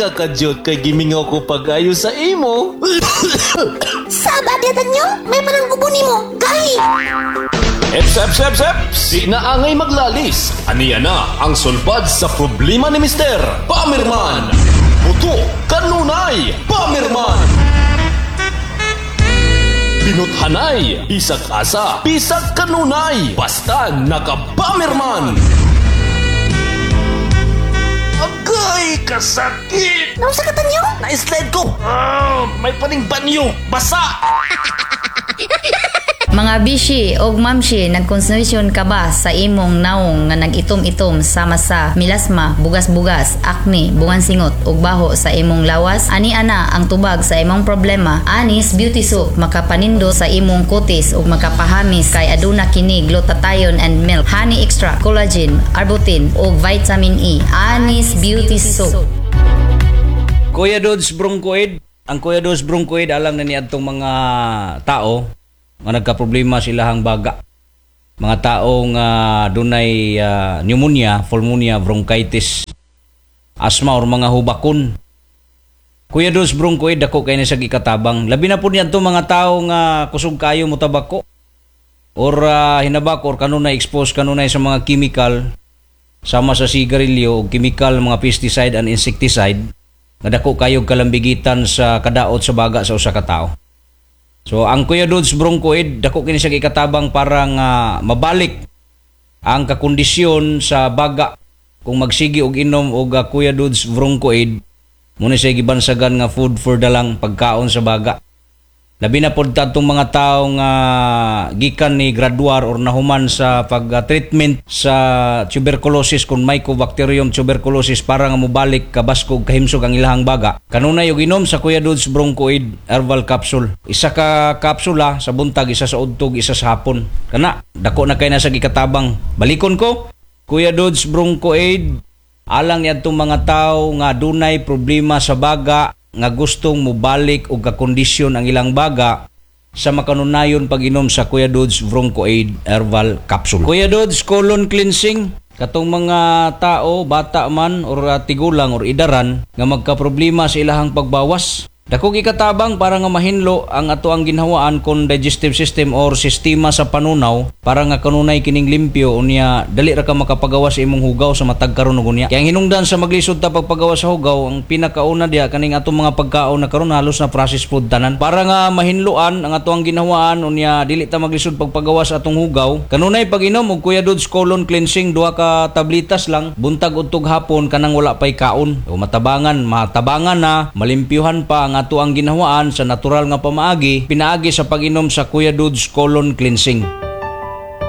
Ka kadyot kay gimingaw ko pag-ayo sa imo. Saba diya nyo? May panang ubo nimo. Gahi! Eps, eps, eps, eps! Di na angay maglalis. Aniya na ang sulbad sa problema ni Mister Pamirman. Buto, kanunay, Pamirman. Binuthanay, bisag asa, bisag kanunay, basta nakapamirman. Agay, kasakit! Naunsa ka, Tanyo? Na-slide ko! Ah, may paning banyo! Basa! Mga bishi og mamshi, nagkonsensyon ka ba sa imong naong nga nag-itom-itom sama sa melasma, bugas-bugas, acne, bungan singot ug baho sa imong lawas? Ani ana ang tubag sa imong problema. Anis Beauty Soap makapanindo sa imong kutis ug makapahamis kay aduna kini glutathione and milk, honey extract, collagen, arbutin ug vitamin E. Anis Beauty Soap. Kuya Dodds Broncoid, ang Kuya Dodds Broncoid alam na niadtong mga tao nga nagka-problema silahang baga. Mga tao nga dunay pneumonia, pulmonia, bronchitis, asthma or mga hubakon. Kuya Dodds Broncoid dako kay ni sa gikatabang. Labi na po niadto mga tao nga kusog kayo mo tabako or hinabak or kanunay expose kanunay sa mga chemical sama sa sigarilyo o chemical, mga pesticide and insecticide nga dako kayo kalambigitan sa kadaot sa baga sa usa ka tawo. So ang Kuya Dodds Broncoid dako kini siya ikatabang para nga mabalik ang kakondisyon sa baga kung magsigi og inom og Kuya Dodds Broncoid. Muna siya gibansagan nga food for the lung, pagkaon sa baga. Labi na pod tadtong mga tao nga gikan ni graduar or nahuman sa pag-treatment sa tuberculosis kung Mycobacterium tuberculosis para nga mobalik kabaskog, kahimsog ang ilahang baga. Kanunay og inom sa Kuya Dodds Broncoid Herbal Capsule. Isa ka kapsula sa buntag, isa sa udtog, isa sa hapon. Kana, dako na kay na sa gikatabang. Balikon ko, Kuya Dodds Broncoid alang niadtong mga tao nga dunay problema sa baga nga gustong mobalik og kakondisyon ang ilang baga sa makanunayon pag-inom sa Kuya Dodds Broncoaid Herbal Capsule. Kuya Dodds Colon Cleansing, katong mga tao, bata man or tigulang or idaran nga magka-problema sa ilahang pagbawas. Dako gikatabang para nga mahinlo ang ato ang ginhawaan kon digestive system or sistema sa panunaw para nga kanunay kining limpyo, unya dali ra ka makapagawas sa imong hugaw sa matag karon ug unya. Kaya ang hinungdan sa maglisod ta pagpagawas sa hugaw, ang pinakauna diha kaning atong mga pagkaon na karon halos na processed food tanan. Para nga mahinloan ang ato ang ginhawaan, unya dili ta maglisod pagpagawas sa atong hugaw. Kanunay pag-inom og Kuya Dodds Colon Cleansing, duha ka tablitas lang buntag, udtog, hapon, kanang wala pay kaon. O matabangan, matabangan na, malimpyuhan pa ang ato ang ginhawaan sa natural nga pamaagi pinaagi sa pag-inom sa Kuya Dodds Colon Cleansing.